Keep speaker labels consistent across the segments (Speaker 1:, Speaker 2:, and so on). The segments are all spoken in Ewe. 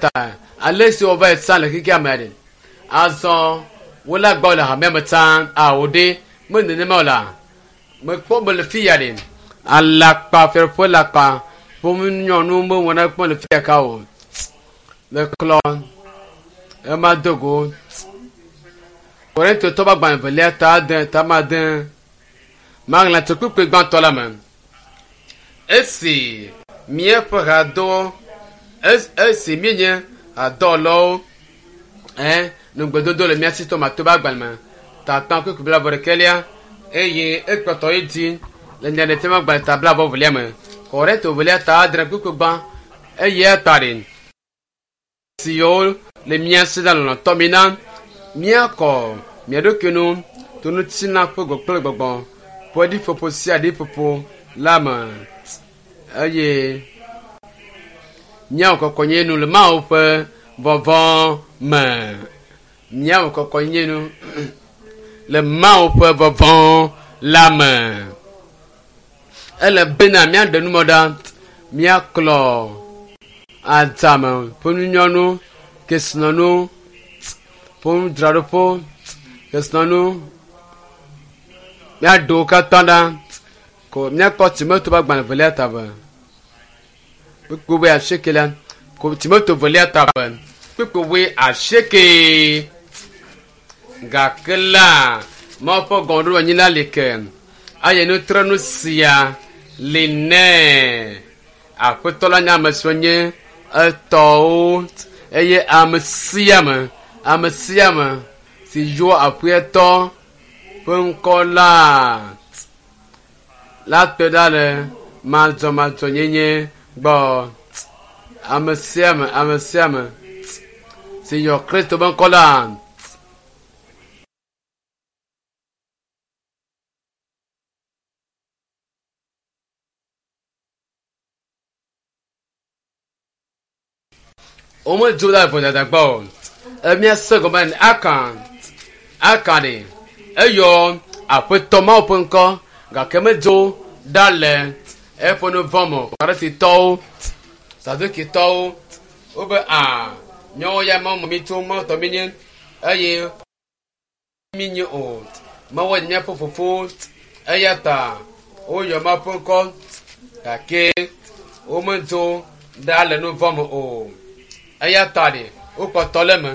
Speaker 1: ta ale si wova yi tsã le xexea me ɖe azɔ wole agbɔ le hamea me tsã awo ɖe me nenema o la mekpɔ be le fi ya ɖe alakpa fiaɖuƒe lakpa ƒome nyɔnu mewɔna kpɔ le fi ya ka o le klɔ ema do go Korintotɔ ƒe agbalẽ evelia ta ade ta ma ade maɣla tso kpukpui gbãtɔ la me. Esi míaƒe hadɔ esi míenye hadɔwɔlawo ɛ nugbedodo le mía si to mato ƒe agbalẽ me tatɔ kpukpui blaeve ɖekɛlia eye ekpɔtɔ yi dzi le nyaɖeɖefia ƒe agbalẽ ta blaeve velia me. Korinto velia ta adre kpukpui gbã eye eta ɖe siwo le mía si la lɔlɔ̃tɔ mi na míakɔ mía ɖokui nu to ŋutilã ƒe gbɔ kple gbɔgbɔ ƒe ɖiƒoƒo sia ɖiƒoƒo la me eye míawɔ kɔkɔnye nu le Mawu ƒe vɔvɔ̃ me. Míawɔ kɔkɔnye nu le Mawu ƒe vɔvɔ̃ la me. Ele bena míaɖe numɔ ɖa, míaklɔ adzame ƒe nunyɔnu, kesinɔnu ƒe nudzraɖoƒe, kesinɔnu míaɖe wo katã ɖa ko míakpɔ Timoto ƒe agbalẽ evelia ta eve kpukpui wui asieke la ko Timoto evelia ta eve kpukpui wui asieke gake la Mawu ƒe gɔmeɖoanyi la li ke eye nutrenu sia li nɛ. Aƒetɔ la nye ame siwo nye etɔwo eye ame sia ame ame sia ame si yɔ aƒetɔ ƒe ŋkɔ la la kpe ɖa le madzɔmadzɔnyenye gbɔ. Ame sia ame ame sia ame si yɔ Kristo ƒe ŋkɔ la womedzo ɖe vodada gbɔ o. Emia se gɔme ne aka aka ɖe eyɔ aƒetɔ Mawu ƒe ŋkɔ gake medzo ɖa le eƒe nu vɔ̃ me o. Farisitɔwo, Sadukitɔwo wobe a míawo ya Mawu me mi tso Mawu tɔ míenye eye míenye o. Mawu nye míaƒe fofo eya ta woyɔ Mawu ƒe ŋkɔ gake womedzo ɖa le nu vɔ̃ me o. Eya ta ɖe wokpɔtɔ le eme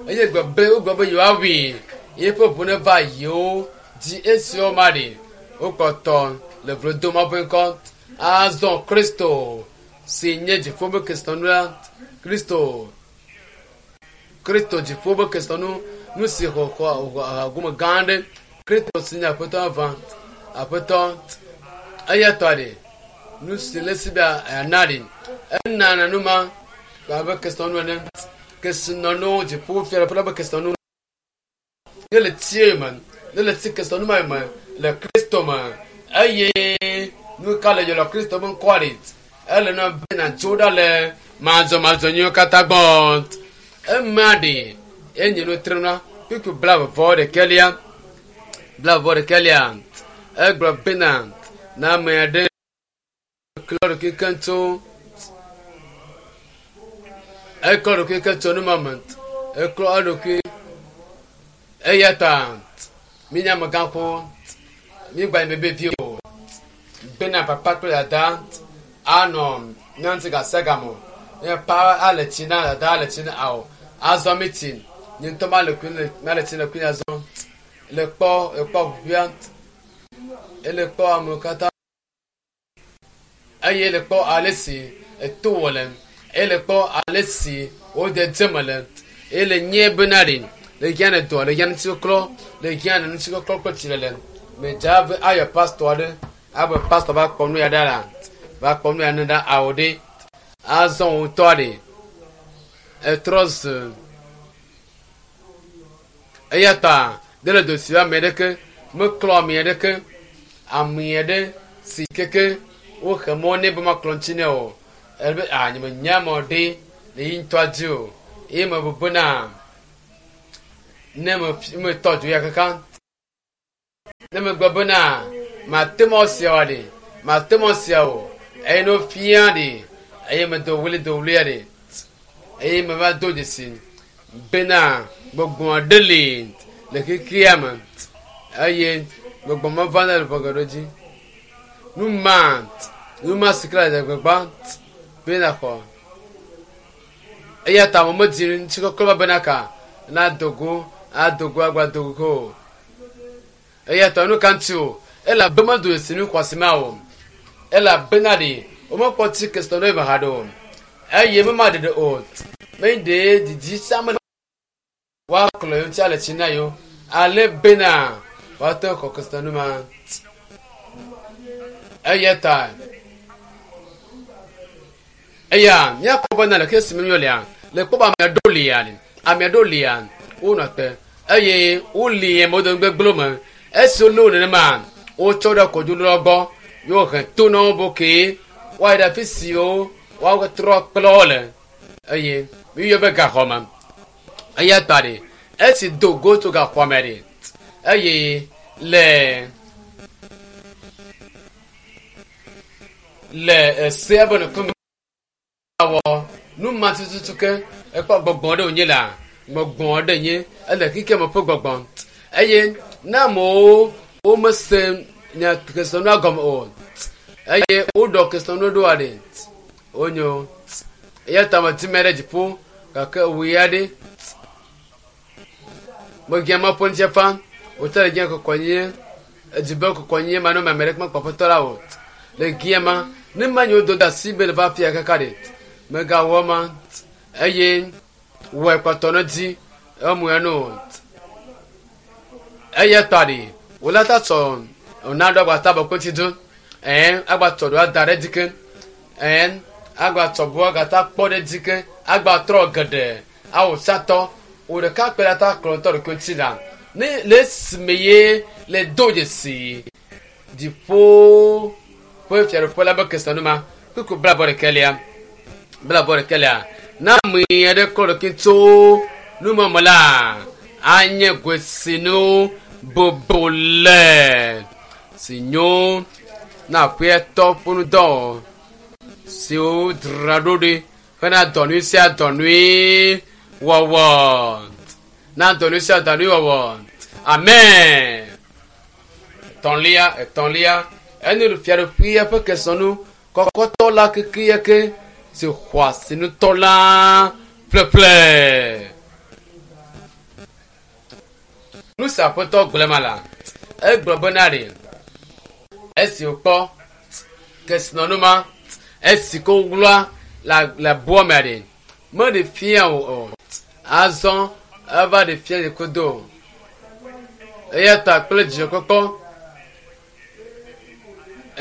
Speaker 1: eye gblɔ be wogblɔ be yewoawui yeƒe ʋu neva yewo dzi esi woma ɖe wokpɔtɔ le vlo dom Mawu ƒe ŋkɔ. Azɔ Kristo si nye dziƒo ƒe kesinɔnu la, Kristo Kristo dziƒo ƒe kesinɔnu nu si xɔ xɔ xɔ gome gã aɖe. Kristo si nye Aƒetɔ vavã, Aƒetɔ eya tɔ ɖe nu si le esi be yeana ɖe enana nu ma abe kesinɔnu ene. Kesinɔnu dziƒo fiaɖuƒe la ƒe kesinɔnu ne le tsie me ne le tsi kesinɔnu ma me le Kristo me eye nu ka le yɔ le Kristo ƒe ŋkɔa ɖe ele na be nàdzo ɖa le madzɔmadzɔ nyuiwo katã gbɔ. Ema ɖe enye nu trena kpukpui blaeve vɔ ɖekɛlia blaeve vɔ ɖekɛlia egblɔ bena na ame aɖe klɔ ɖokui keŋ tso eklɔ ɖokui keŋ tso nu ma me eklɔ eɖokui eya ta míenye amegãxo míegba nye bebevi o bena papa kple dada anɔ mía ŋuti gasiagame o. Ne pa ale tsi na dada ale tsi na ao azɔ mi tsi nye ŋutɔ male kui le male tsi le kui azɔ le kpɔ le kpɔ ʋuƒea ele kpɔ amewo katã eye le kpɔ ale si eto wɔ le eye le kpɔ ale si wode dze me le eye le nye bena ɖe le hiã ne dɔ le hiã ŋutikɔklɔ le hiã ne ŋutikɔklɔ kple tsilele medza be ayɔ pastɔ aɖe abe pastɔ va kpɔ nu ya ɖa la va kpɔ nu ya ne ɖa awo ɖe azɔ wo ŋutɔ ɖe etrɔ zu eya ta de le do si ame ɖeke meklɔ ame ɖeke ame aɖe si keke woxe mɔ nɛ be maklɔ ŋuti nɛ o ebe a nye menya mɔ ɖe le yi ŋutɔa dzi o eye mebu bena ne me metɔ dzo ya kaka ne megblɔ bena mate mɔ sia wa ɖe mate mɔ sia o eye ne wofia ɖe eye medo wli do wlia ɖe. Eye meva do dzesi bena gbɔgbɔ aɖe li le xexea me eye gbɔgbɔ ma vana le ʋɔ geɖewo dzi. Nu ma, nu ma si ke le agbagba be nàxɔ. Eya ta ame medi ŋutikɔkɔ va bena ka nado go, ado go agba do go o. Eya ta nu ka ŋuti o? Elabe medo dzesi nu xɔasi ma o. Elabena ɖe womekpɔ tsi kesinɔnu ɖe me haɖe o. Eye mema ɖeɖe o. Menye ɖe didi sia me woaklɔ yewo ŋuti ale tsi na yewo ale bena woate ŋu xɔ kesinɔnu ma. Eya ta eya míakpɔ bena le xexi si me míelea, le kpɔ be ame aɖewo lia, ame aɖewo lia, wonɔ te eye woli ame wo dome gbegblẽwo me. Esi wolé wo nenema, wotsɔ ɖe kɔdzoɖola gbɔ ye wohe to na wo be okay, woayi ɖe afi siwo woatrɔ kple wo le eye míeyɔe be gaxɔ me. Eya ta ɖe esi do go tso gaxɔa me ɖe eye le le esea be ŋkume wɔ nu ma tututu ke ekpɔ gbɔgbɔ ɖe wònye la gbɔgbɔ ɖe nye ele xexea me ƒe gbɔgbɔ eye ne amewo womese nya kesinɔnua gɔme o eye woɖɔ kesinɔnu ɖoa ɖe wonyo eya ta meti me ɖe dziƒo gake wò ya ɖe megia ma ƒe ŋutifafa wòtɔ le gia kɔkɔnyenye edzi be kɔkɔnyenye ma nɔ me ame ɖeke mekpɔ aƒetɔ la o le gia ma ne ma nyewo do de asi be le va fia kaka ɖe megawɔ ma eye wɔe kpɔtɔ ne dzi emu ya no eya ta ɖe wòle ta tsɔ ona ɖo agbata be kpeti do ɛn agbatsɔ ɖo ada ɖe dzi ke ɛn agbatsɔ bu agata kpɔ ɖe dzi ke agbatrɔ geɖe awɔ satɔ wò ɖeka kpe ɖe ta kplɔ ŋutɔ ɖokui ŋuti la ne le esime ye le do dzesi dziƒo ƒe fiaɖuƒe la be kesinɔnu ma kpukpu blaeve ɖekɛlia blaeve ɖekɛlia ne ame aɖe klɔ ɖokui tso numeme la anye goesinu bobole si nyo na aƒetɔ ƒe ŋudɔ siwo dzra ɖo ɖi hena dɔ nyui sia dɔ nyui wɔwɔ na dɔ nyui sia dɔ nyui wɔwɔ amen etɔ̃lia etɔ̃lia enye fiaɖuƒea ƒe kesinɔnu kɔkɔtɔ la kekeake si xɔ asi ŋutɔ la ƒleƒle. Nu si aƒetɔ gblɔ ma la, egblɔ bena ɖe esi wòkpɔ kesinɔnu ma esi ko wlɔa le aboa me ɖe meɖe fia o o azɔ eva ɖe fia yi kodo eya ta kple dzidzɔkpɔkpɔ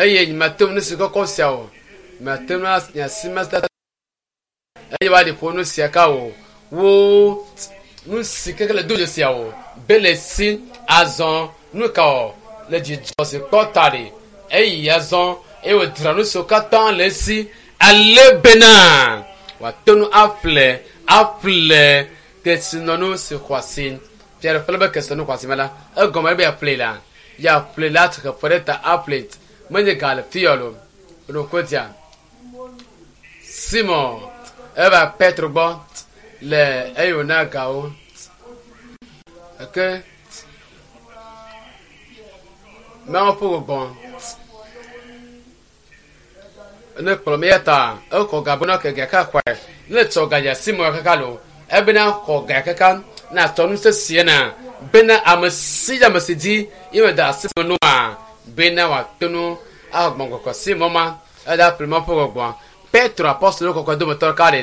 Speaker 1: eye nyemate ŋu nu si kɔkɔ sia o mate ŋu asi ma eye woaɖi ƒo nu sia ka o wo nu si keke le do dzesi o be le si azɔ nu ka o le dzidzɔ si kpɔ ta ɖe eyi azɔ eye wòdzra nu siwo katã le esi ale bena wòate ŋu aƒle aƒle kesinɔnu si xɔ asi fiaɖuƒe la be kesinɔnu xɔ asi me la egɔme be yeaƒle la yeaƒle la xefe ɖe ta aƒle menye ga le fi yɔ lo ɖokodia Simon eva Petro gbɔ le eye wòna gawo eke Mawu ƒe gbɔgbɔ ne kplɔ mi ya ta ekɔ ga bena ke ga ka xɔe ne tsɔ ga dza Simon kaka lo ebena xɔ ga kaka na tsɔ nu sesie na bena ame si ame si dzi ye me da asi me nua bena wòate ŋu axɔ gbɔgbɔ Simon ma eda ƒle Mawu ƒe gbɔgbɔa Petro apɔstolo kɔkɔe dometɔ ɖeka ɖe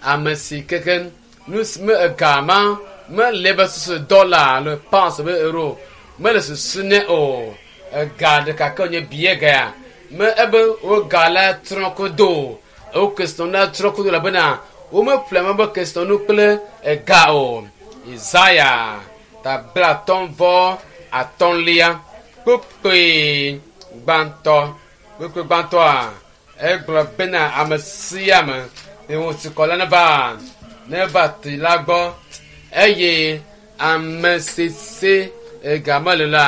Speaker 1: ame si keke nu si me ega ma mele be susu dɔla alo pounds be euro mele susu nɛ o ega ɖeka ke wònye bie ga ya me ebe wo ga la trɔ kodo wo kesinɔnu la trɔ kodo elabena womeƒle ame be kesinɔnu kple ega o Isaya ta blatɔ̃ vɔ atɔ̃lia kpukpui gbãtɔ kpukpui gbãtɔa egblɔ bena ame sia ame si ŋu tsikɔ la neva neva tsi la gbɔ eye ame si si ega mele la